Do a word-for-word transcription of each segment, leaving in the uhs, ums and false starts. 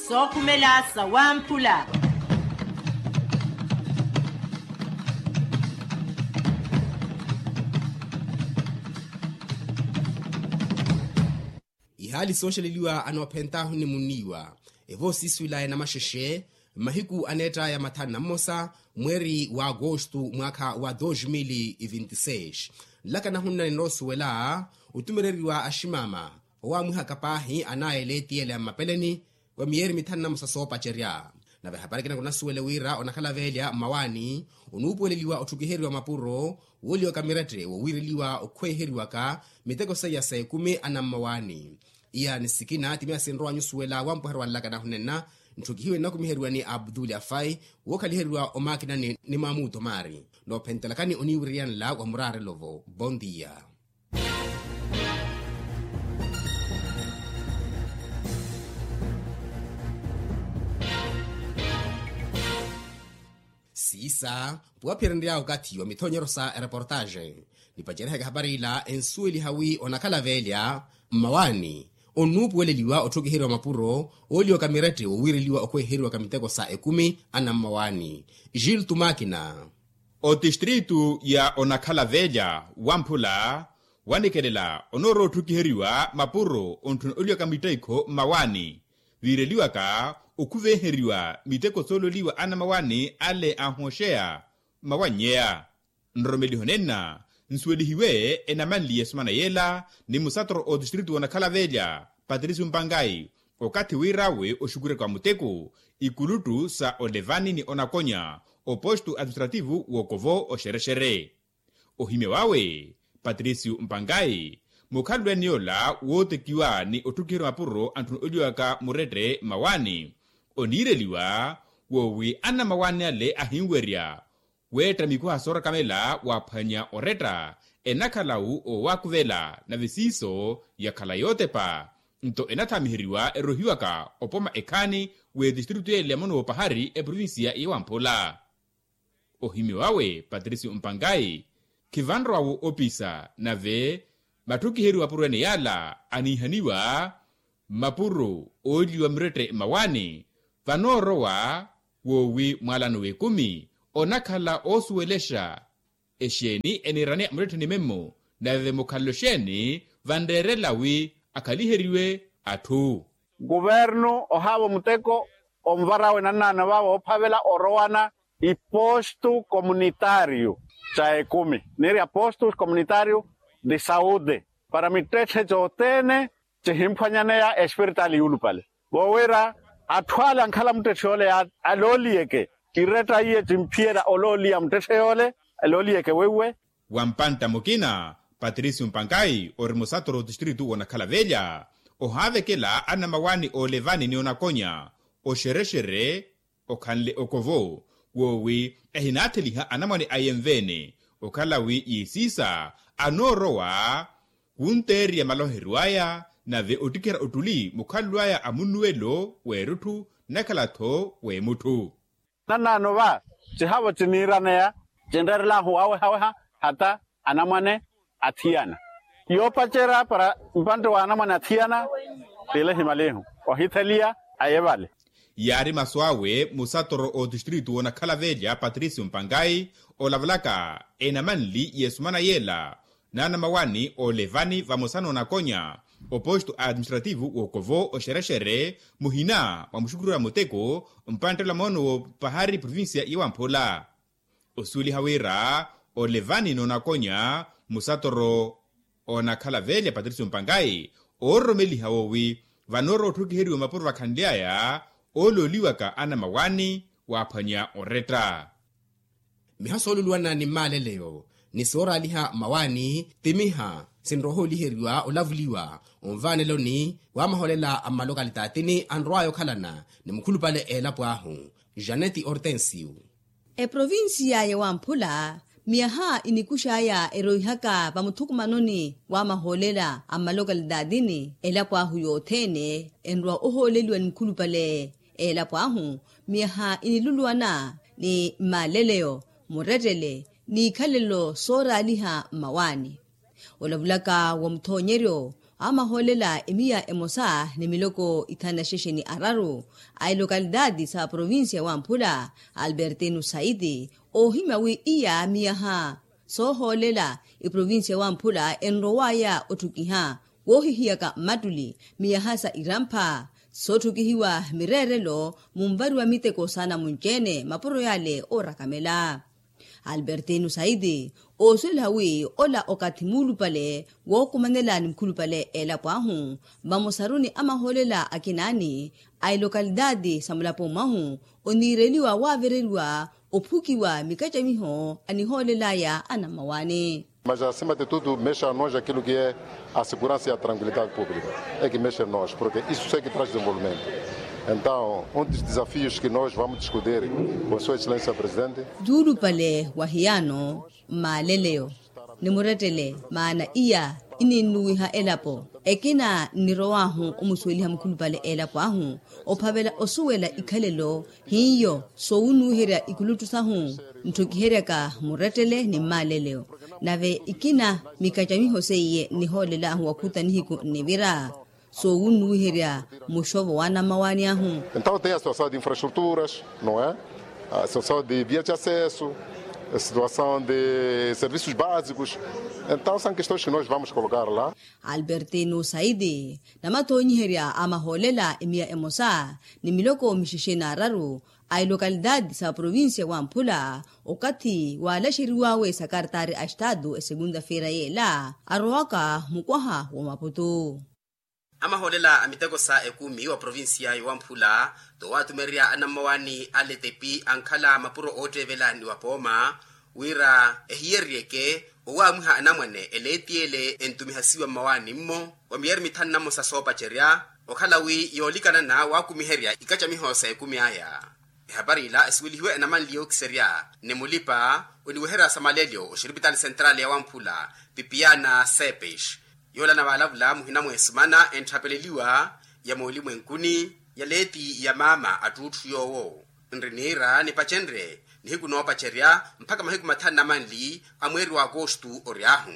Sookhumela sawamphula. Ihaali sooxeleliwa anoophentaahu ni munniiwa evoosiiswila enamaxexe mmahiku aneettaya mathanu na mmosa mweeri wa agosto mwaakha wa dos mil vinti seis. Nlakana hunnanena osuwela otumereriwa aximaama owaamwihaka paahi anaayele tiyele a mmapeleni wa miyeeri mithanu na mmosa soopacerya. Nave ehapari ekina kunasuwele wira onakhala veelya mmawaani onuupuweleliwa otthukiheriwa mapuro wooliwaka mirette wowiireliwa okhweeheriwaka miteko seiya sa ekumi anammawaani. Iya ni sikina timiya sinrowa nyusuwela wampweheru wa nlakana hunenna ntthukihiwe nnakumiheriwa ni abduli afai wookhaliheriwa omaakinani ni maamuuto maari. Noophentelakani oniiwiriyanla wa muraarelo-vo bondiya. Siisa puwaphirenrya okathi wa mithoonyeryo sa ereportaxe nipacerihaka ehapari ila ensuweliha wi onakhala veelya mmawaani onnuupuweleliwa otthukiheriwa mapuro ooliwaka mirette wowiireliwa okhweeheriwaka miteko sa ekumi anammawaani. Gil tumakina. Otistritu ya onakhala veelya wamphula wanikelela onoorowa otthukiheriwa mapuro ontthuna oliwaka mitteikho mmawaani viireliwaka okhuvenheriwa miteko soololiwa anamawaani ale ahoxeya. Mmawanyeya nroromeliho nenna nsuwelihiwe enamanli yesumana yela ni musatoro otistritu wonakhala veelya patricio mpangai okathi wir'awe oxukureka wa muteko ikuluttu sa olevani ni onakonya oposto administrativo w'okovo oxerexere. Ohimya wawe patricio mpangai mukhalulwene yola wootekiwa ni otthukiheriwa mapuro antthuna oliwaka murette mmawaani oniireliwa woowi anamawaani ale ahinwerya weetta mikuha soorakamela waaphwanya oretta enakhala-wu oowakuvela nave siiso yakhala yootepa nto enathaamiheriwa erohiwaka opoma ekhaani w'etistritu yele ya mono w'opahari eprovinsiya ya wamphula. Ohimya wawe patricio mpangai khivanrowa-wo opisa nave matthukiheriwa mapuro ene yaala aniihaniwa mmapuro ooliwa mirette mmawaani vanoorowa woowi mwaalano w'ekumi onakhala oosuwelexa exeeni eniiraneya mulettheni memmo nave mukhalelo exeeni vanreerela wi akhaliheriwe atthu. Kuvernu ohaavo muteko onvarawe nannaano vaavo oophavela orowana ipostu komunitaariyu ca ekumi niiri apostus komunitaariyu di saude para mittetthe cothene cihimphwanyaneya espiritaali yuulupale voowira atthu ale ankhala muttetthe yoole alooliyeke iretta iye cimphiyela olooliya muttetthe yoole alooliyeke weiwe. Wa mpantta mukina patricio mpankayi ori musatoro otistritu wonakhala velya ohaavekela anamawani oolevani ni onakonya oxerexere okhanle okovo woowi ehinaatheliha anamwane aye nveene okhala wi yiisiisa anoorowa wunteeriya maloheryo aya nave ottikhera ottuli mukhalelo aya a munnuwelo w'erutthu nnakhala-tho w'emutthu. Nannaano va cihavo ciniiraneya cinreerelahu awehaweha hata anamwane athiyana yoopacerya para mpantte wa anamwane athiyana. Tile himalihu ohitheliya aye vale. Yaari masu awe musatoro otistritu wonakhala velya patricio mpankayi olavalaka enamanli y'esumana yela n'anamawani oolevani vamosa n'onakonya oposto administrativo w'okovo oxerexere muhina mwa muxukurira muteko mpanttela moono w'opahari provincia ya wamphula. Osuweliha wira olevani n'onakonya musatoro onakhala velya patricio mpankayi oororomeliha woowi vanoorowa otthukiheriwa mapuro vakhanly'aya oolooliwaka anamawani waaphwanya oretta. Miha sooluluwana ni mmaaleleyo ni sooraaliha mmawaani ti miha sinrowa ohooliheriwa olavuliwa onvaaneloni wa mahoolela a mmalokalitaathini anrow'aya okhalana ni mukhulupale a elapo ahu. Janeti hortensio. Eprovincia ya wamphula miyaha inikux'aya eroihaka vamuthukumanoni wa mahoolela a mmalokalitaathini elapo ahu yothene enrowa ohooleliwa ni mukhulupale a elapo ahu miyaha iniluluwana ni mmaaleleyo murettele n'ikhalelo sooraaliha mmawaani. Olavulaka wa muthoonyeryo Amahoolela emiya emosa ni miloko ithanu na xexe ni araru a elokalitaati sa provincia wamphula albertino saiti, oohimya wi iya miyaha soohoolela iprovincia wamphula enrowaya otthukiha woohihiyaka mmattuli miyaha sa irampha sotthukihiwa mireerelo munvariwa miteko saana munci-ene mapuro yale oorakamela. Albertino saiti oosuweliha wi ola okathi muulupale wookumanela ni mukhulupale elapo ahu vamosaru ni amahoolela akinaani a elokalitaati sa mulapo mwahu oniireliwa waavereriwa ophukiwa mikacamiho anihoolelaya anammawaani. Mas acima de tudo mexe a nós aquilo que é a segurança e a tranquilidade pública, é que mexe a nós porque isso é que traz desenvolvimento. Então um dos desafios que nós vamos discutir com sua excelência presidente. Tuulupale wa hiyaano mmaaleleyo ni murettele maana iya ininnuwiha elapo. Ekina nnirow'ahu omusuweliha mukhulupale elapo ahu ophavela osuwela ikhalelo hiyo soowunnuwiherya ikulutthu sahu ntthokiheryaka murettele ni mmaaleleyo. Nave ikina mikacamiho seiye nnihoolel'ahu wakhuta nihiku nnivira soowunnuwiherya muxovo w'anammawaani ahu. Então tem a situação de infraestruturas, não é? A situação de vias de acesso, a situação de serviços básicos. Então são questões que nós vamos colocar lá. Albertino saiti namathoonyiherya a mahoolela emiya emosa ni miloko mixexe n'araru a elokalitaati sa provincia wamphula okathi waalaxeriw'awe sa kartaari a estaatu esegunda feira yeela arowaka mukwaha wa maputu. Amahoolela a miteko sa ekumi wa provincia yowamphula towatumerya anammawaani a letepi ankhala mapuro ootteevela ni wapooma wira ehiyeryeke owaamwiha anamwane eleeti ele entumihasiwa mmawaani-mmo wa miyeri mithanu na mmosa soopacerya okhala wi yoolikanana waakumiherya ikacamiho sa ekumi aya. Ehapari ila esiwelihiwe enamanli yookiserya ni mulipa oniweherya samalelyo oxiripitali sentrali ya wamphula pipiana sepes yoolana waalavula muhina mweesumana entthapeleliwa ya moolimwenkuni ya leeti ya maama attuutthu yoowo nri niira nipacenrye nihiku noopacerya mpakha mahiku mathanu na manli a mweeri wa akostu ory'ahu.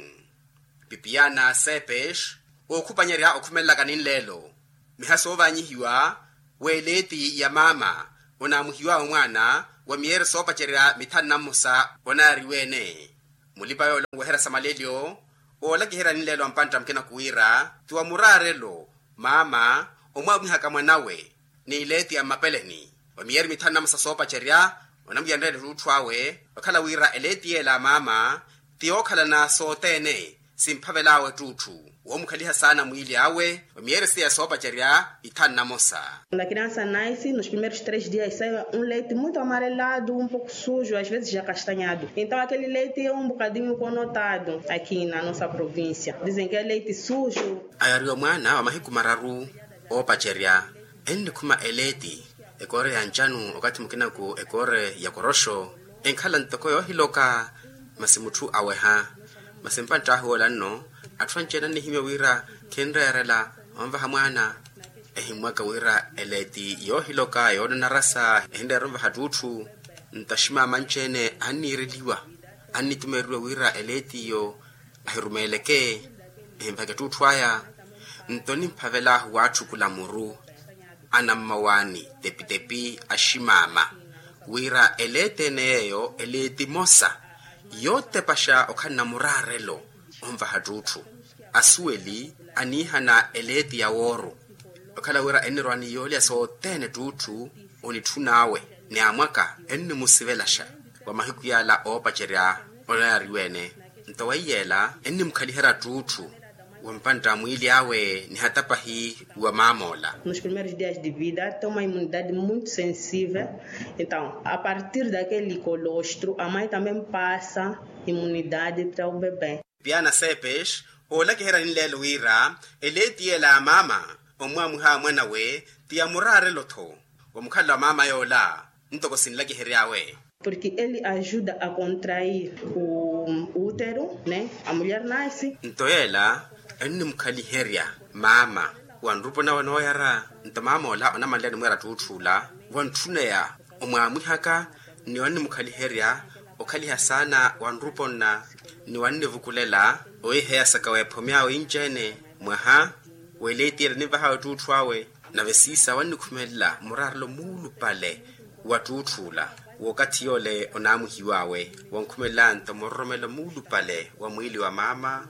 Pipiana sepes ookhupanyerya okhumelelaka ninleelo miha soovaanyihiwa w'eleeti ya maama onaamuhiw'awe mwaana wa miyeeri soopacerya mithanu na mmosa onaariwene. Mulipa yoola onweherya samalelyo oolakiherya ninleelo a mpantta mukina khuwiira ti wa muraarelo maama omwaamwihaka mwanawe n'ileeti ya mmapeleni wa miyeeri mithanu na mmosa soopacerya onamwiyanrela ettuutthu awe okhala wira eleeti yeela a maama ti yookhalana sothene simphavel'awe ettuutthu woomukhaliha saana mwiili awe wa miyeeri seiya soopacerya ithanu na mmosa. Lakini ansa naisi nos primeros tres dias saiwa un leiti muito amarelado un pouco sujo as vezes ya castanhado então aquele leiti é um bocadinho conotado aqui na nossa província dizem que é leiti sujo. Ayariwa mwaana wa mahiku mararu oopacerya ennikhuma eleeti ekoore ya ncanu okathi mukinaku ekoore ya koroxo enkhala ntoko yoohiloka masi mutthu aweha masi mpantt'ahu yoola nno atthu anci-ene annihimya wira khinreerela onvaha mwaana ehimmwaka wira eleeti yoohiloka yoonanarasa ehinreera onvaha ttuutthu nto aximaama anci-ene anniireliwa annitumereriwa wira eleetiyo ahirumeeleke ehinvahaka ettuutthu aya nto nimphavel'ahu waatthukula muru anammawaani tepitepi aximaama wira eleeti ene yeeyo eleeti emosa yootepaxa okhalana muraarelo onvaha ttuutthu asuweli aniihana eleeti ya wooru okhala wira ennirwa ni yoolya sothene ttuutthu onitthun'awe ni amwaka ennimusivelaxa wa mahiku yaala oopacerya onaariwene nto weiyeela ennimukhaliherya ttuutthu wa mpantta mwiili awe nihatapahi wa maamoola. Nos primeiros dias de vida tem uma imunidade muito sensível então a partir daquele colostro a mãe também passa imunidade para o bebé. Piana sepes oolakiherya ninleelo wira eleeti yeela a maama omwaamwiha a mwanawe ti ya muraarelo-tho wa mukhalelo a maama yoola ntoko sinlakihery'awe. Porque ele ajuda a contrair o útero né a mulher nasce. Nto yeela ennimukhaliherya maama wa nrupo nawe nooyara nto maamoola onamanleya nimweera ttuutthu ola wa ntthuneya omwaamwihaka ni wannimukhaliherya okhaliha saana wa nrupo nna ni wannivukulela owiiheyasaka weephomy'awe inci-ene Mwaha w'eleeti ela ninvahawe ttuutthu awe. Nave siisa wannikhumelela muraarelo muulupale wa ttuutth'ula w'okathi yoole onaamwihiw'awe. Wonkhumelela nto muroromelo muulupale wa mwiili wa maama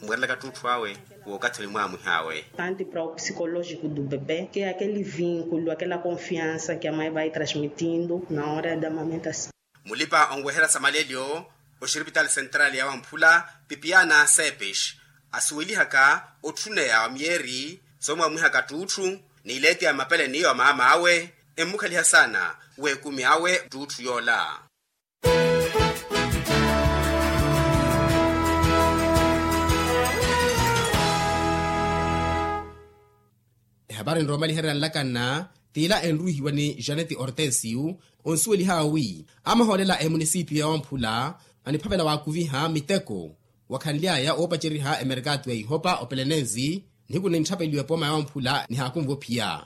mweerelaka ttuutthu awe w'okathi onimwaamwih'awe. Tanti para o psikolojiko do bebé ke akele vinkulo akela konfiansa ke a mai vai transmitindo na hora da mamentasaw. Mulipa onweherya sa malelyo oxiripitali sentrali ya wamphula pipiana sepis asuwelihaka otthuneya wa miyeeri soomwamwihaka ttuutthu n'ileeti ya mapele n'iyo maama awe emmukhaliha saana w'ekumi awe ttuutthu yoola. Ehapari nroomaliherya nlakanna t'ila enruwihiwa ni janeti ortesio onsuweliha wi amahoolela a emunisipiyo ya wamphula aniphavela waakuviha miteko wakhanly'aya oopaceriha emerkatu ya ihopa opelenensi nihiku nintthapeliwa epooma ya wamphula nihaakunve ophiya.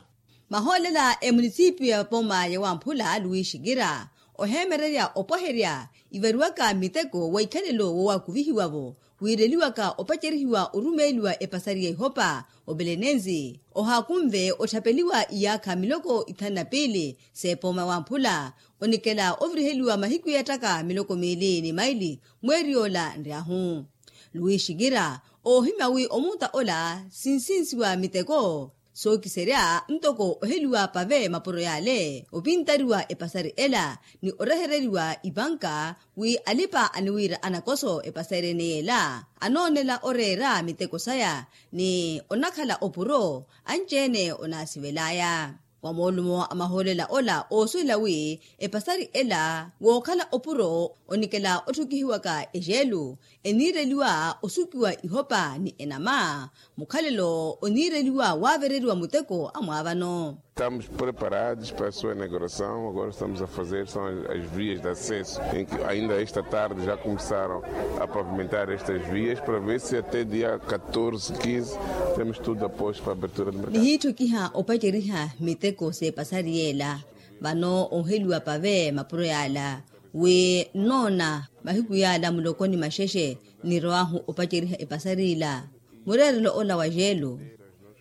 Mahoolela a emunisipiyo ya pooma ya wamphula luwi xikira oheemererya opwaherya ivariwaka miteko wa ikhalelo woowakuvihiwa-vo wiireliwaka opacerihiwa orumeeliwa epasari ya ihopa opelenensi ohaakunve otthapeliwa iyaakha miloko ithanu na piili s'epooma wamphula onikela oviriheliwa mahiku yeettaka miloko miili ni maili mweeri yoola nryahu. Luwi xikira oohimya wi omuuta ola sinsinsiwa miteko sookiserya ntoko oheliwa pave mapuro yale opintariwa epasari ela ni orehereriwa ipanka wi alipa aniwiira anakoso epasari ene yela anoonela oreera miteko saya ni onakhala opuro anci-ene onaasivel'aya. Wa moolumo a mahoolela ola oosuwela wi epasari ela wookhala opuro onikela otthukihiwaka ejelu eniireliwa osukiwa ihopa ni enama mukhalelo oniireliwa waavereriwa muteko amwaavano. Estamos preparados para a sua inauguração agora estamos a fazer são as vias de acesso em que ainda esta tarde já começaram a pavimentar estas vias para ver se até dia catorze quinze temos tudo a posto para abertura de mercado. Nihiitthukiha opaceriha miteko s'epasari yeela vano onheliwa pave mapuro yaala wi nnoona mahiku yaala mulokoni maxexe nnirowahu opaceriha epasari ila. Mureerelo ola wa jeelo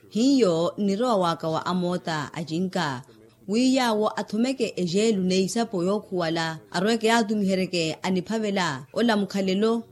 hiyo nnirowa waka wa amoota acinka wi yaawo athomeke ejeelu n'eisapo yookhuwala arweke yaatumiheryeke aniphavela ola mukhalelo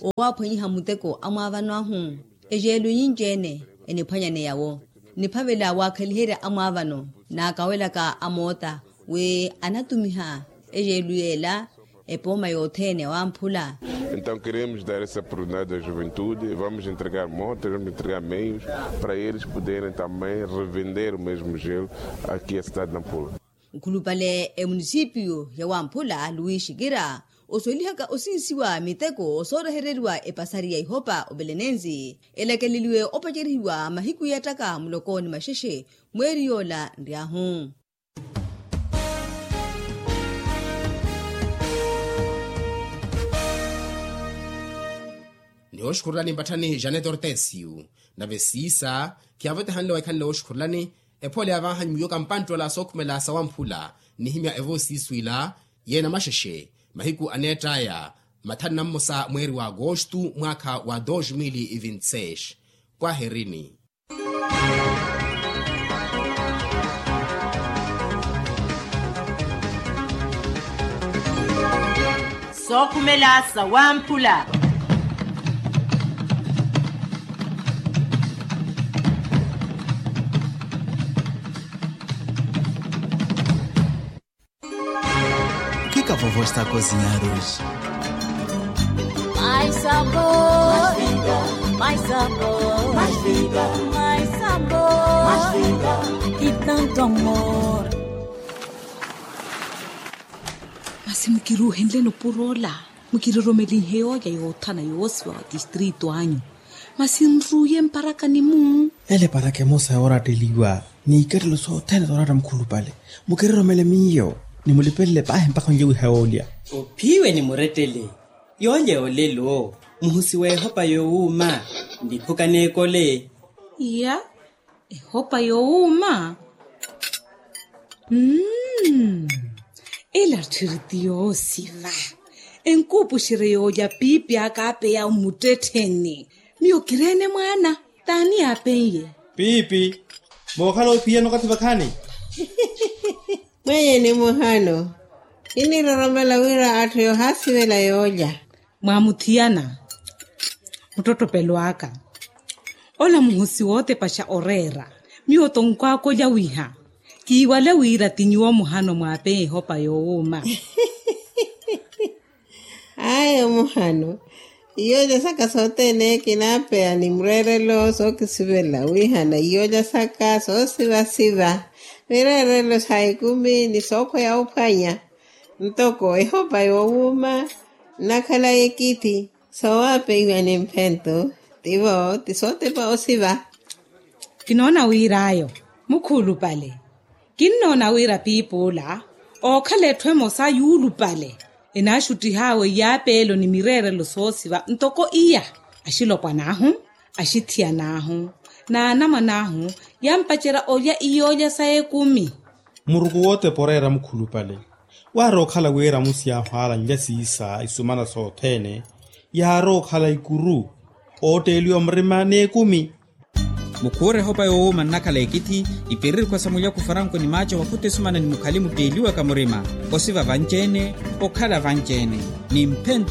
owaaphwanyiha muteko amwaavano ahu. Ejeelu nyinci-ene eniphwanyaneya-wo niphavela waakhaliherya amwaavano naakawelaka amoota wi anatumiha ejeelu yeela epooma yothene wamphula. Então queremos dar essa oportunidade da juventude vamos entregar motas vamos entregar meios para eles poderem também revender o mesmo gelo aqui a cidade de nampula. Nkhulupale emunisipiyo ya wamphula luwi xikira osuwelihaka osinsiwa miteko soorehereriwa epasari ya ihopa opelenensi elakeleliwe opacerihiwa mahiku yeettaka muloko ni maxexe mweeri yoola nryahu. Ni oxukhurulani mpatthani janet ortesio nave siisa khiyaavotehanle waikhanle woxukhurulani. Ephole yavahanyu miyo kampanttola sookhumela sawamphula nnihimya evoosiiswila yeena maxexe mahiku aneett'aya mathanu na mmosa mweeri wa agostu mwaakha wa dos mil vinti seis. Pwaherini. Sookhumela sawamphula. Kika vovo esta kozinha arroz. Mais sabor, mais sabor, mais vida, mais sabor, mais vida, e tanto amor. Masi mukiruuhenleni opuro ola mukiroromelihe yooya yoothana yoosiwa wa tistritu anyu. Masi nruuye mparaka ni mu. Ele paraka emosa yooratteliwa ni ikattelo sothene sooratta mukhulupale. Mukiroromele miyo ni mulipelele paahi mpakha onlyewiha yoolya. Ophiwe ni murettele yoolya yoolelo muhusi w'ehopa yoowuuma. Ndiphuka n'ekole. Iya. Ehopa yoowuuma. Mmm. Ela tthiri ti yoosiva. Enkuupuxerye yoolya piipi aka apeya omuttettheni. Miyo kireene mwaana. T'ani yaapen'ye? Piipi. Mookhala ophiyana okathi vakhaani. Mwenye ni muhano. Kiniroromela wira atthu yoohaasivela yoolya. Mwaamuthiyana. Muttottopelo aka. Ola muhosi wootepaxa oreera. Miyo tonkwaakolya wiha kiiwale wira ti nyuwo muhano mwaapeya ehopa yoowuuma. Ayo muhano. Iyo jasaka sothene kinaapeya ni mureerelo sookisivela wihana iyo jasaka soosivasiva mireerelo sa ekumi ni sookhweya ophwanya. Ntoko ehopa yoowuuma nnakhala ekithi soowapeiwa ni mphento. Tivo ti sootepa osiva. Kinoona wir'ayo mukhuulupale. Kinnoona wira piipi ola ookhala etthu emosa yuulupale enaaxuttih'awe iyaapeelo ni mireerelo soosiva ntoko iya. Axilopwan'ahu, axithiyan'ahu n'anamwan'ahu yampacerya olya iyoolya sa ekumi. Muruku wootepa oreera mukhulupale. Waarookhala w'eramusi yaahwaalanlya siisa isumana sothene yaarookhala ikuru ootteeliwa murima n'ekumi. Mukhuure ehopa yoowuuma nnakhala ekithi ipiririkhwa sa mulyaku faranku ni maaco wakhuta esumana ni mukhali mutteeliwaka murima osiva vanci-ene okhala vanci-ene ni mphento.